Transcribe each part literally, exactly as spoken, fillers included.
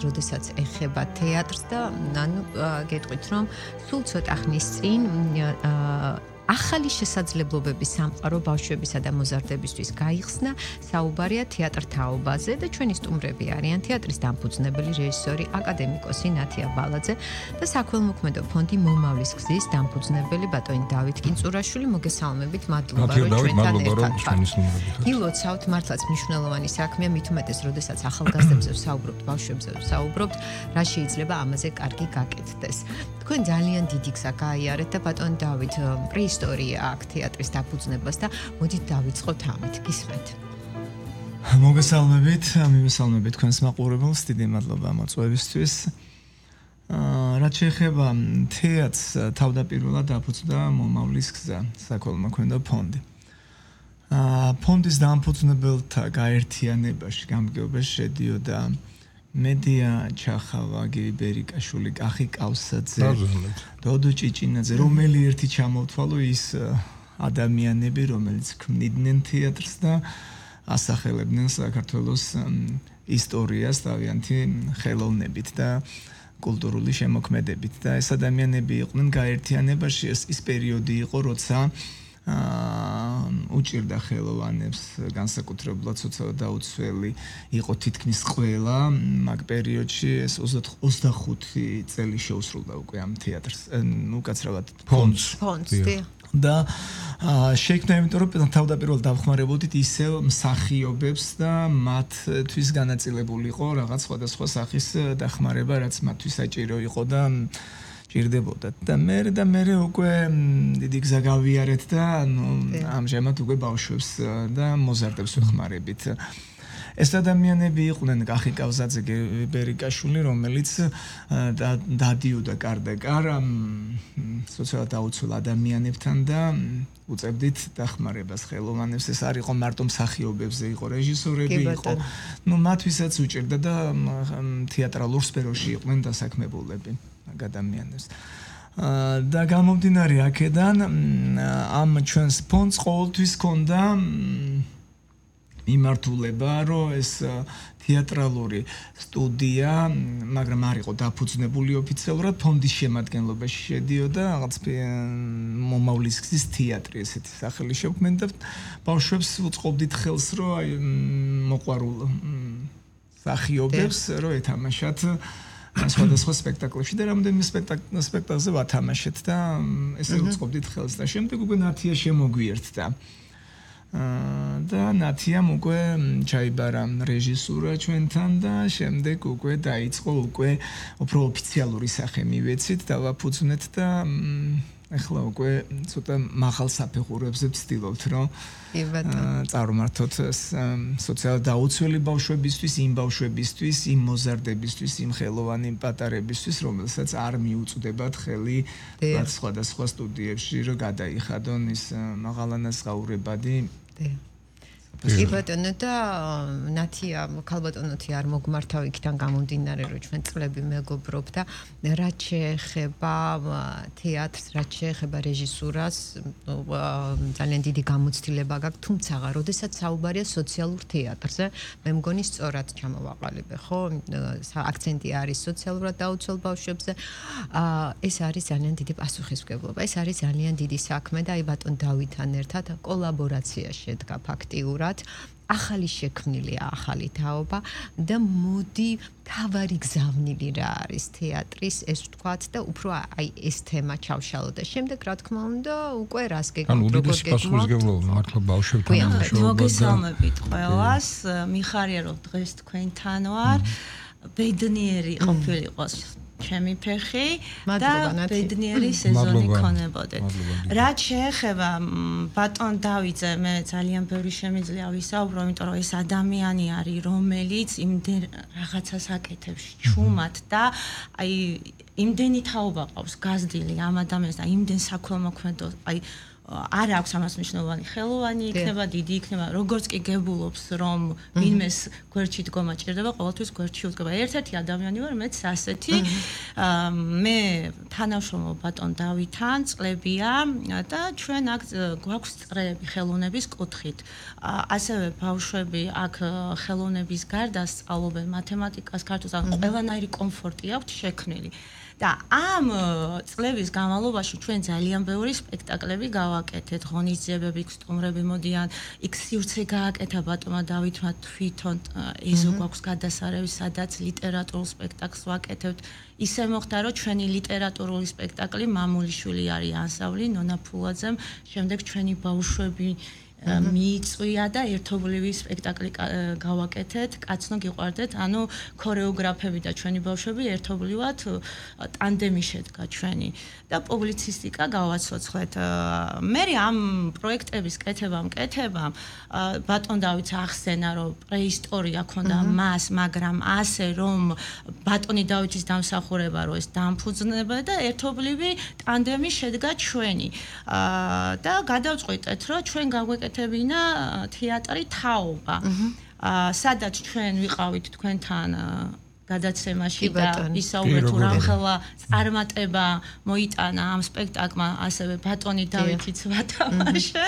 როდესაც ეხება თეატრს და ანუ გეტყვით რომ სულ ცოტა ხნის წინ ახალი შესაძლებლობების სამყარო ბავშვებისა და მოზარდებისთვის გაიხსნა საუბარია თეატრ თაობაზე და ჩვენი სტუმრები არიან თეატრის დამფუძნებელი რეჟისორი აკადემიკოსი ნათია ბალაძე და საქველმოქმედო ფონდი მომავლის გზის დამფუძნებელი ბატონი დავით კინწურაშვილი მოგესალმებით მადლობა რომ ჩვენთან ერთად ვართ. გილოცავთ მართლაც მნიშვნელოვანი საქმეა მით უმეტეს როდესაც ახალგაზრდებზე ვსაუბრობთ ბავშვებზე ვსაუბრობთ რა შეიძლება ამაზე კარგი გაკეთდეს. თქვენ ძალიან დიდი გზა გაიარეთ და ბატონი დავით ისტორია აქ თეატრის დაფუძნებას და მოდით დავიწყოთ ამით. გისმენთ. მოგესალმებით, მივესალმებით თქვენს მაყურებელს, დიდი მადლობა მოწვევისთვის. რაც შეეხება თეატრს, თავდაპირველად დაფუძნდა მომავლის გზა, საქველმოქმედო ფონდი. ფონდის დამფუძნებელთა გაერთიანებაში, გამგეობაში შედიოდა მედია ჩახავა, გივი ბერიკაშვილი, კახი კავსაძე, დოდო ჭიჭინაძე, რომელი ერთი ჩამოვთვალო ის ადამიანები, რომელიც ქმნიდნენ თეატრს და ასახელებდნენ საქართველოს ისტორიას თავიანთი ხელოვნებით და კულტურული შემოქმედებით და ეს ადამიანები იყვნენ გაერთიანებაში. ეს ის პერიოდი იყო, როცა უჭირდა ხელოვანებს განსაკუთრებულად სოციალურად დაუცველი იყო თითქმის ყველა მაგ პერიოდში ეს ოცდახუთი წელი შეუსრულდა უკვე ამ თეატრს უკაცრავად ფონდს და შეიქმნა იმიტომ რომ თავდაპირველად დავხმარებოდით ისევ მსახიობებს და მათთვის განაწილებული იყო რაღაც სხვადასხვა სახის დახმარება რაც მათთვის საჭირო იყო და ჭირდებოდა და მე და მე უკვე დიდი გზა გავიარეთ და ანუ ამჟამად უკვე ბავშვებს და მოზარდებს ვეხმარებით. ეს ადამიანები იყვნენ კახი კავსაძე, ბერიკაშვილი, რომელიც დადიოდა კარდაკარ სოციალურად დაუცველ ადამიანებთან და უწევდით დახმარებას ხელოვანებს. ეს არ იყო მარტო მსახიობებზე, იყო რეჟისორები, იყო ნუ მათთვისაც უჭირდა და თეატრალურ სფეროში იყვნენ დასაქმებულები. ადამიანებს. და გამომდინარე აქედან ამ ჩვენს ფონდს ყოველთვის ჰქონდა მიმართულება, რომ ეს თეატრალური სტუდია, მაგრამ არ იყო დაფუძნებული ოფიციალურად, ფონდის შემადგენლობაში შედიოდა რაღაც მომავლის გზის თეატრი, ესეთი სახელი შექმნდა და ბავშვებს უწყობდით ხელს, რომ აი მოყვარულ მსახიობებს რომ ეთამაშათ სხვადასხვა სპექტაკლებში და რამდენიმე სპექტაკლზე ვათამაშეთ და ესე უწყობდით ხელს და შემდეგ უკვე ნათია შემოგვიერთდა. და ნათიამ უკვე ჩაიბარა რეჟისურა ჩვენთან და შემდეგ უკვე დაიწყო უკვე უფრო ოფიციალური სახე მივეცით და ვაფუძნეთ და ახლა უკვე ცოტა მაღალ საფეხურებზე ვცდილობთ რომ წარმართოთ სოციალურად დაუცველი ბავშვებისთვის, იმ ბავშვებისთვის, იმ მოზარდებისთვის, იმ ხელოვანი პატარებისთვის, რომელსაც არ მიუწვდებათ ხელი სხვადასხვა სტუდიებში რომ გადაიხადონ ის მაღალანაზღაურებადი კი ბატონო და ნათია ქალბატონოთი არ მოგმართავ იქიდან გამომდინარე რომ ჩვენ წლები მეგობრობ და რაც შეეხება თეატრს, რაც შეეხება რეჟისურას ძალიან დიდი გამოცდილება გაქვს, თუმცა როდესაც საუბარია სოციალურ თეატრზე, მე მგონი სწორად ჩამოვაყალიბე, ხო? აქცენტი არის სოციალურად დაუცველ ბავშვებზე. ეს არის ძალიან დიდი პასუხისმგებლობა, ეს არის ძალიან დიდი საქმე და აი ბატონ დავითთან ერთად კოლაბორაცია შედგა ფაქტიურად. ახალი შექმნილია ახალი თაობა და მოდი თავარი გზავნილი რა არის თეატრის ეს ვთქვათ და უფრო აი ეს თემა ჩავშალო და შემდეგ რა თქმა უნდა უკვე რას გეკეთებთ როგორ გეკეთებთ მართლა ბავშვებთან მუშაობა მოგესალმებით ყველას მიხარია რომ დღეს თქვენთან ვარ ბედნიერი ყოფილიყო ჩემი ფეხი და ბედნიერი სეზონი ქონებოდეთ. რაც შეეხება ბატონ დავითზე, მე ძალიან ბევრი შემიძლია ვისაუბრო, იმიტომ რომ ეს ადამიანი არის, რომელიც იმდენ რაღაცას აკეთებს ჩუმად და აი იმდენი თაობა ყავს გაზრდილი ამ ადამიანს და იმდენ საქველმოქმედო, აი არ აქვს ამას მნიშვნელოვანი ხელოვანი იქნება, დიდი იქნება, როგორც კი გებულობს, რომ ვინმეს გვერდში დგომა ჭირდება, ყოველთვის გვერდში უდგება. ერთ-ერთი ადამიანი ვარ, მეც ასეთი. მე თანამშრომლობ ბატონ დავითთან, წლებია და ჩვენ აქ გვაქვს წრეები ხელოვნების კუთხით. ასევე ბავშვები აქ ხელოვნების გარდა სწავლობენ მათემატიკას, ქართულს, ან ყველანაირი კომფორტი აქვთ შექმნილი. და ამ წლების განმავლობაში ჩვენ ძალიან ბევრი სპექტაკლები გავაკეთეთ, ღონისძიებები, სტუმრები მოდიან, იქ სივრცე გააკეთა ბატონმა დავითმა თვითონ ეზო გვაქვს გადასარევი, სადაც ლიტერატურულ სპექტაკლს ვაკეთებთ. ისე მოხდა, რომ ჩვენი ლიტერატურული სპექტაკლი მამულიშვილი არის ანსამბლი ნონა ფულაძემ, შემდეგ ჩვენი ბავშვები მიიწვია და ერთობლივი სპექტაკლი გავაკეთეთ, კაცნო გიყვარდეთ, ანუ ქორეოგრაფები და ჩვენი ბავშვები ერთობლივად ტანდემი შედგა ჩვენი და პუბლიცისტიკა გავაცოცხლეთ. მე ამ პროექტების კეთებამ, კეთებამ ბატონ დავითს ახსენა, რომ პრეისტორია ქონდა მას, მაგრამ ასე რომ ბატონი დავითის დამსახურება რო ეს დამფუძნება და ერთობლივი ტანდემი შედგა ჩვენი. და გადავწყვიტეთ, რომ ჩვენ გავაკეთეთ ეთებინა თეატრი თაობა. სადაც ჩვენ ვიყავით თქვენთან გადაცემაში და ისაუბრეთ თუ რამხელა წარმატება მოიტანა ამ სპექტაკლმა, ასევე ბატონი დავითიც ვათამაშე,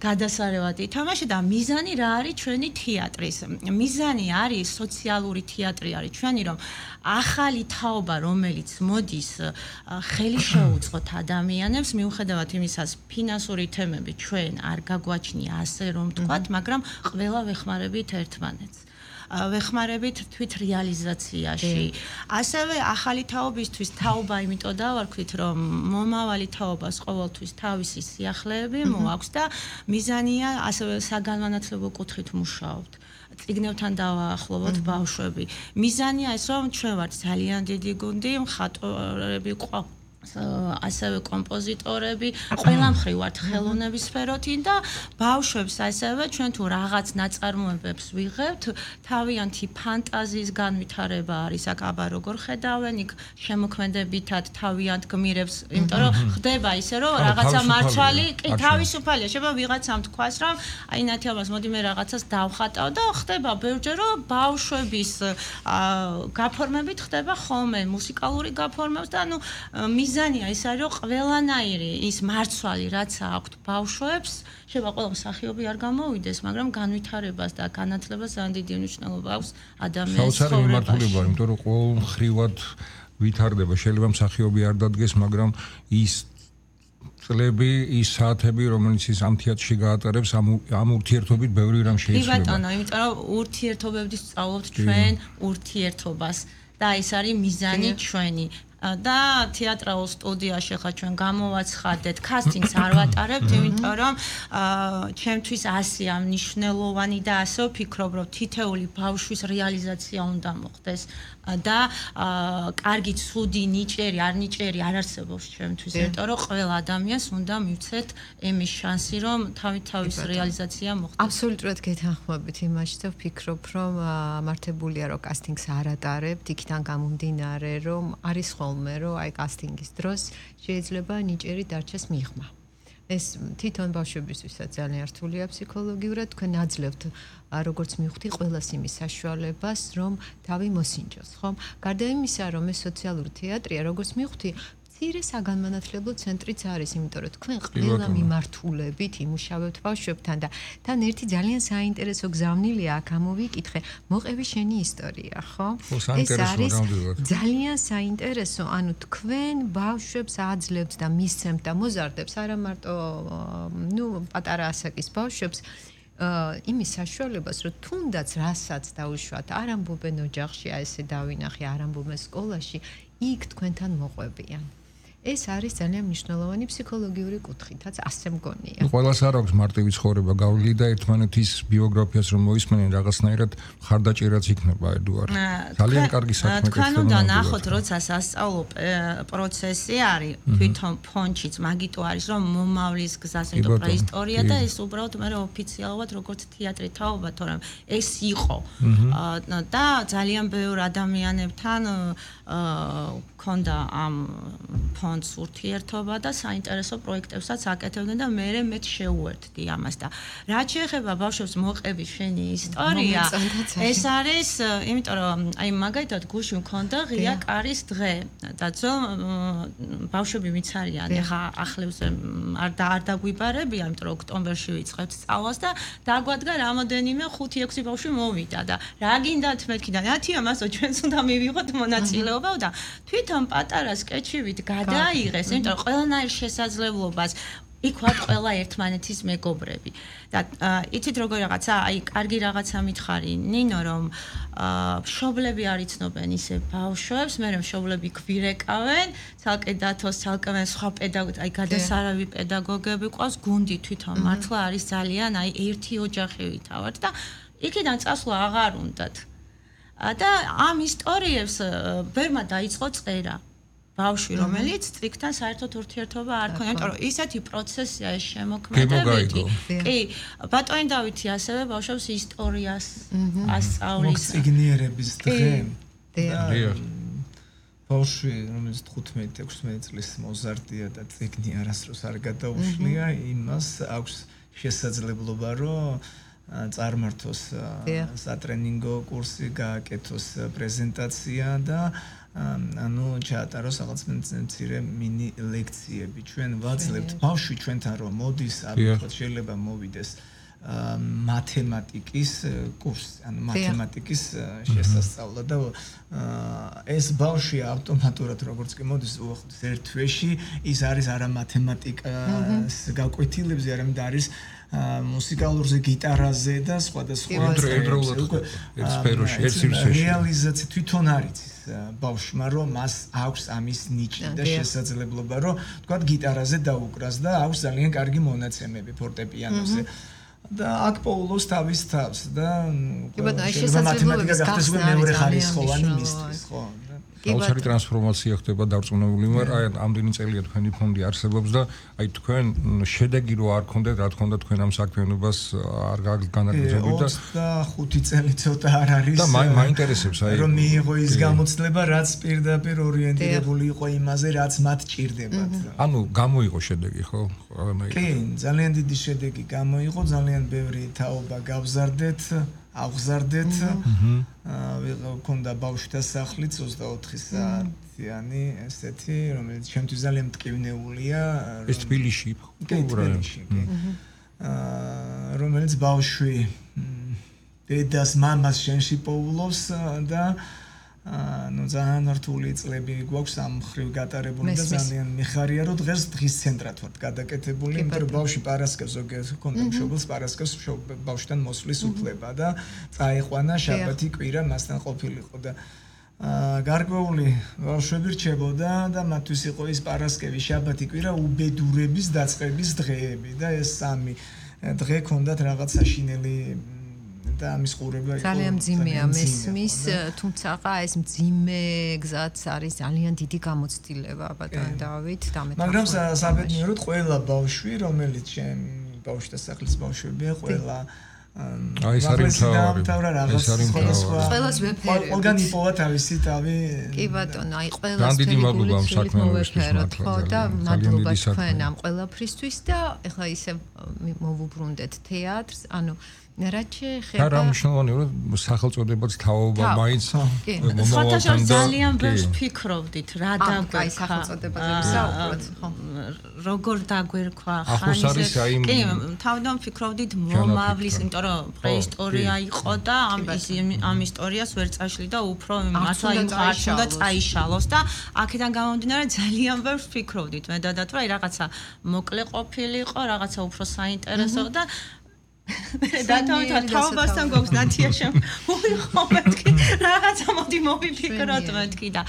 გადასარევად ითამაშე და მიზანი რა არის ჩვენი თეატრის? მიზანი არის სოციალური თეატრი არის ჩვენი, რომ ახალი თაობა, რომელიც მოდის, ხელი შეუწყოთ ადამიანებს, მიუხედავად იმისას, ფინანსური თემები ჩვენ არ გაგვაჩნია ასე რომ ვთქვათ, მაგრამ ყველა ვეხმარებით ერთმანეთს. ვეხმარებით თვით რეალიზაციაში. ასევე ახალი თაობისთვის თაობა იმიტომ დავარქვით, რომ მომავალი თაობას ყოველთვის თავისი სიახლეები მოაქვს და მიზანია ასევე საგანმანათლებლო კუთხით მუშაობთ. წიგნებთან დავაახლოვოთ ბავშვები. მიზანია ეს, რომ ჩვენ ვართ ძალიან დიდი გუნდი, მხატვრები ყავს ასევე კომპოზიტორები, ყველა მხრივ ვართ ხელოვნების სფეროთი და ბავშვებს ასევე ჩვენ თუ რაღაც ნაწარმოებებს ვიღებთ, თავიანთი ფანტაზიის განვითარება არის აქ აბა როგორ ხედავენ, იქ შემოქმედებითად თავიანთ გმირებს, იმიტომ რომ ხდება ისე რომ რაღაცა მარცვალი, კი თავისუფალია, შეიძლება ვიღაცამ თქვას რომ აი ნათელმას მოდი მე რაღაცას დავხატავ და ხდება ბევრჯერ რომ ბავშვების გაფორმებით ხდება ხოლმე მუსიკალური გაფორმება და ანუ მიზანია ის არის რომ ყველანაირი ის მარცვალი რაც აქვთ ბავშვებს შეიძლება ყველა მსახიობი არ გამოვიდეს მაგრამ განვითარებას და განათლებას ძალიან დიდი მნიშვნელობა აქვს ადამიანის ცხოვრებაში. საოცარი მიმართულება, იმიტომ რომ ყოველ მხრივად ვითარდება, შეიძლება მსახიობი არ დადგეს, მაგრამ ის წლები, ის საათები, რომელიც ის ამ თეატრში გაატარებს, ამ ამ ურთიერთობით ბევრი რამ შეიძლება. კი ბატონო, იმიტომ რომ ურთიერთობებით სწავლობთ ჩვენ ურთიერთობას და ეს არის მიზანი ჩვენი. და თეატრალურ სტუდიაში ხა ჩვენ გამოვაცხადეთ, კასტინგს არ ვატარებთ, იმიტომ რომ ჩემთვის ასეა მნიშვნელოვანი და ასე ვფიქრობ, რომ თითეული ბავშვის რეალიზაცია უნდა მოხდეს და კარგი, ცუდი, ნიჭერი, არ ნიჭერი არ არსებობს ჩემთვის, იმიტომ რომ ყველა ადამიანს უნდა მივცეთ ემის შანსი, რომ თავი-თავის რეალიზაცია მოხდეს. აბსოლუტურად გეთანხმებით იმაში და ვფიქრობ, რომ მართებულია, რომ კასტინგს არ ატარებთ, იქიდან გამომდინარე, რომ არის ხოლმე, რომ აი კასტინგის დროს შეიძლება ნიჭერი დარჩეს მიღმა. ეს თვითონ ბავშვებისთვისაც ძალიან რთულია ფსიქოლოგიურად, თქვენ აძლევთ როგორც მივხვდი ყველას იმის საშუალებას, რომ თავი მოსინჯოს, ხო? გარდა იმისა, რომ ეს სოციალური თეატრია, როგორც მივხვდი, მცირე საგანმანათლებლო ცენტრიც არის, იმიტომ რომ თქვენ ყველა მიმართულებით იმუშავებთ ბავშვებთან და თან ერთი ძალიან საინტერესო გზავნილია აქ ამოვიკითხე, მოყევი შენი ისტორია, ხო? ეს არის ძალიან საინტერესო, ანუ თქვენ ბავშვებს აძლევთ და მისცემთ და მოზარდებს არა მარტო ნუ პატარა ასაკის ბავშვებს იმის საშუალებას, რომ თუნდაც რასაც დაუშვათ, არ ამბობენ ოჯახში, აი ესე დავინახე, არ ამბობენ სკოლაში, იქ თქვენთან მოყვებიან. ეს არის ძალიან მნიშვნელოვანი ფსიქოლოგიური კუთხითაც ასე მგონია. ყველას არ აქვს მარტივი ცხოვრება, გავლილი და ერთმანეთის ბიოგრაფიას რომ მოისმენენ რაღაცნაირად ხარდაჭერაც იქნება ედუარ. ძალიან კარგი საქმე. თქვენ უნდა ნახოთ, როცა სასწავლო პროცესი არის, თვითონ ფონჩიც მაგიტო არის, რომ მომავლის გზას იმიტომ პრეისტორია და ეს უბრალოდ მე ოფიციალურად როგორც თეატრი თაობა, თორემ ეს იყო. და ძალიან ბევრ ადამიანებთან ქონდა ამ ფონდს ურთიერთობა და საინტერესო პროექტებსაც აკეთებდნენ და მე მეც შეუერთდი ამას და რაც შეეხება ბავშვებს მოყების შენი ისტორია ეს არის იმიტომ რომ აი მაგალითად გუში მქონდა ღია კარის დღე და ძველ ბავშვები ვინც არიან ეხა ახლევზე არ და არ დაგვიბარებია იმიტომ რომ ოქტომბერში ვიწყებთ სწავლას და დაგვადგა რამოდენიმე ხუთი ექვსი ბავშვი მოვიდა და რა გინდათ მეთქი და ნათია მასო ჩვენც უნდა მივიღოთ მონაწილეობა და თვითონ პატარა სკეჩივით გადაიღეს იმიტომ რომ ყველანაირ შესაძლებლობას იქ ვარ ყველა ერთმანეთის მეგობრები და იცით როგორ რაღაცა აი კარგი რაღაცა მითხარი ნინო რომ მშობლები არ იცნობენ ისე ბავშვებს მე რომ მშობლები გვირეკავენ ცალკე დათოს ცალკე სხვა პედაგოგი აი გადასარავი პედაგოგები ყავს გუნდი თვითონ მართლა არის ძალიან აი ერთი ოჯახი ვითავართ და იქიდან წასვლა აღარ უნდათ და ამ ისტორიებს ბერმა დაიწყო წერა ბავშვი რომელიც სტრიქთან საერთოდ ურთიერთობა არ ქონია, იმიტომ რომ ისეთი პროცესია ეს შემოქმედებითი. კი, ბატონი დავითი ასევე ბავშვებს ისტორიას ასწავლის. მოგწიგნიერების დღე. დიახ. ბავშვი რომელიც თხუთმეტი ექვსმეტი წლის მოზარდია და წიგნი არასდროს არ გადაუშლია, იმას აქვს შესაძლებლობა რომ წარმართოს სატრენინგო კურსი, გააკეთოს პრეზენტაცია და ანუ ჩაატაროს რაღაც მცირე მინი ლექციები. ჩვენ ვაძლევთ ბავშვი ჩვენთან რომ მოდის, ალბათ შეიძლება მოვიდეს მათემატიკის კურსი, ანუ მათემატიკის შესასწავლად და ეს ბავშვი ავტომატურად როგორც კი მოდის უახლოეს ერთ თვეში ის არის არა მათემატიკას გაკვეთილებზე, არამედ არის მუსიკალურზე, გიტარაზე და სხვადასხვა რეალიზაცია თვითონ არის ბავშვმა რომ მას აქვს ამის ნიჭი და შესაძლებლობა რომ თქვათ გიტარაზე დაუკრას და აქვს ძალიან კარგი მონაცემები ფორტეპიანოზე და აქ პოულოს თავის თავს და მათემატიკა გახდეს მეორე ხარისხოვანი მისთვის ხო საოცარი ტრანსფორმაცია ხდება დარწმუნებული ვარ აი ამდენი წელია თქვენი ფონდი არსებობს და აი თქვენ შედეგი რო არ გქონდეთ რა თქმა უნდა თქვენ ამ საქმიანობას არ განაგრძობთ და ოცდახუთი წელი ცოტა არ არის და მაინტერესებს აი რომ მიიღო ის გამოცდილება რაც პირდაპირ ორიენტირებული იყო იმაზე რაც მათ ჭირდებათ ანუ გამოიღო შედეგი ხო კი ძალიან დიდი შედეგი გამოიღო ძალიან ბევრი თაობა გავზარდეთ აღზარდეთ ვიყავდა ბავშვთა სახლიც ოცდაოთხი საათიანი ესეთი რომელიც ჩემთვის ძალიან მტკივნეულია ეს თბილისში თბილისში რომელიც ბავშვი დედას მამას შენში პოულობს და ну ძალიან რთული წლები გვაქვს ამ ხრივ გატარებული და ძალიან მიხარია რომ დღეს დღის ცენტრად ვართ გადაკეთებული იმიტომ რომ ბავშვი პარასკევს ზოგიერთ კონდა მშობელს პარასკევს ბავშვთან მოსვლის უფლება და წაიყვანა შაბათი კვირა მასთან ყოფილიყო და გარკვეული ბავშვები რჩებოდა და მათთვის იყო ის პარასკევი შაბათი კვირა უბედურების დაწყების დღეები და ეს სამი დღე ქონდათ რაღაც საშინელი და ამის ყურება იყო ძალიან მძიმეა მესმის თუმცა ეს მძიმე გზაც არის ძალიან დიდი გამოცდილება ბატონ დავით დამეთახმებით მაგრამ საბედნიეროდ ყველა ბავშვი რომელიც ჩემ ბავშვთა სახლის ბავშვებია ყველა აი ეს არის მთავარი ეს არის მთავარი ყველას ვეფერებთ ყველგან იპოვა თავისი თავი კი ბატონო აი ყველას ვეფერებთ ხო და მადლობა თქვენ ამ ყველაფრისთვის და ეხლა ისე მოვუბრუნდეთ თეატრს ანუ რაც შეეხება რა მნიშვნელოვანია რომ სახელწოდებაც თაობა მაინც მომავალთან ძალიან ბევრს ფიქრობდით რა დაგვერქვა აი სახელწოდებაზე ვისაუბროთ ხო როგორ დაგვერქვა ახოს არის აი კი თავიდან ფიქრობდით მომავლის იმიტომ რომ პრეისტორია იყო და ამ ამ ისტორიას ვერ წაშლი და უფრო მართლა იმ ხარჯს უნდა წაიშალოს და აქედან გამომდინარე ძალიან ბევრს ფიქრობდით მე და დათო აი რაღაცა მოკლე ყოფილიყო რაღაცა უფრო საინტერესო და და თავთან თავებასთან გვაქვს ნათია შემ მოიხო მეთქი რაღაცა მოდი მოვიფიქროთ მეთქი და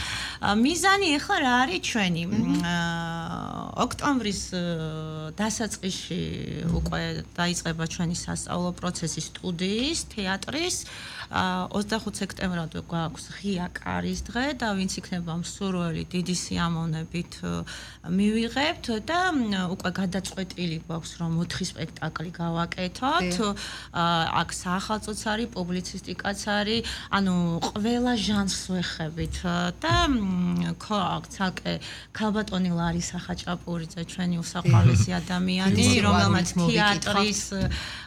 მიზანი ახლა რა არის ჩვენი ოქტომბრის დასაწყისში უკვე დაიწყება ჩვენი სასწავლო პროცესი სტუდიის თეატრის ოცდახუთ სექტემბრამდე გვაქვს ღია კარის დღე და ვინც იქნება მსურველი დიდი სიამოვნებით მივიღებთ და უკვე გადაწყვეტილი გვაქვს რომ ოთხი სპექტაკლი გავაკეთოთ აქ საახალწლოც არის პუბლიცისტიკაც არის ანუ ყველა ჟანრს ვეხებით და ცალკე ქალბატონი ლარის ახაჭაპურიძე ჩვენი უსაყვარლესი ადამიანი რომელმაც თეატრის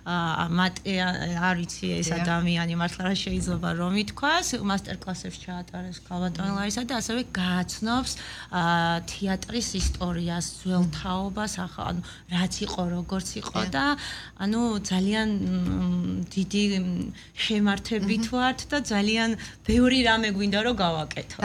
არ ვიცი ეს ადამიანი მართლა რა შეიძლება რომ ითქვას მასტერკლასებს ჩაატარებს ქალბატონი ლარისა და ასევე გააცნობს თეატრის ისტორიას ძველ თაობას ანუ რაც იყო როგორც იყო და ანუ ძალიან დიდი შემართებით ვართ და ძალიან ბევრი რამე გვინდა რომ გავაკეთო